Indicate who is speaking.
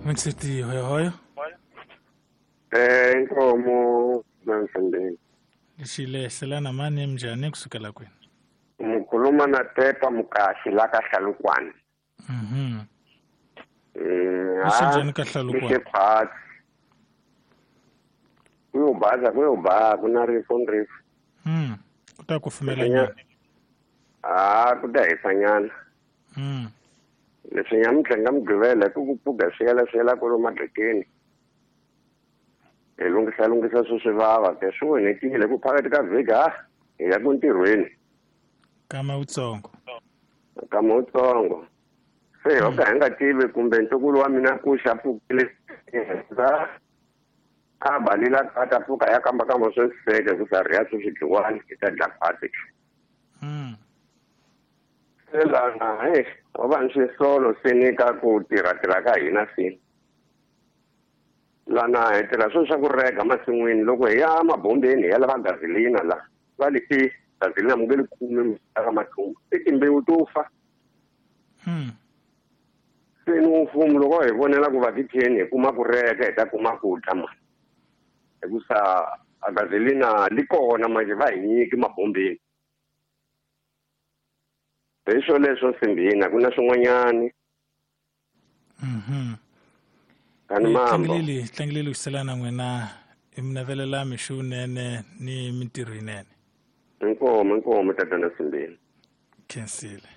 Speaker 1: Mixiti hoyohoyo.
Speaker 2: Inkomo nansembeni.
Speaker 1: Lexile selana mani njhani kusukela kwini?
Speaker 2: Mukhuluma na Tepa Mukashi la ka Hlalukwane.
Speaker 1: Lexi njhani ka Hlalukwane?
Speaker 2: Lexi Kuyobaza kuyoba ku na rifu ni rifu.
Speaker 1: Ku ta kufumela nyana.
Speaker 2: Ah, ku ta hisa nyana. Leswi nyamuntlha nga Mugqivela ku ku pfuka swi yela swi yela kwalomu madlekeni. Hi lunghisa lunghisa swi swi vava ke swi onhekile ku phakathi ka vhiki ha hi ya ku ntirhweni.
Speaker 1: Kama wutsongo.
Speaker 2: Kama wutsongo. Se ho ka hi nga tivi kumbe ntukulu wa mina ku xa pfukile a balila a ta pfuka ya kamba kamba swo seke ku sa riya swi dliwani hi ta dla phati. Se lana he wa va ni swisolo se ni ka ku tirha tirha ka hina se. Lana hi tirha swilo swa ku rega masin'wini loko hi ya mabombeni hi ya lava gasolina la va li i gasolina mu nge li kumi ka mathumbu i timbewu to fa. Se ni mfumo loko hi vonela ku va titheni hi kuma ku reka hi ta kuma ku dya mani hikusa a gasolina li kona manje va hi nyiki mabombeni. Hi swo leswo simbini a ku na swin'wanyani. Kani mambo.
Speaker 1: Tlangileli ku selana n'wina i mi navelela mixunene ni mintirho yinene.
Speaker 2: Inkomo inkomo tatana simbini.
Speaker 1: Khensile.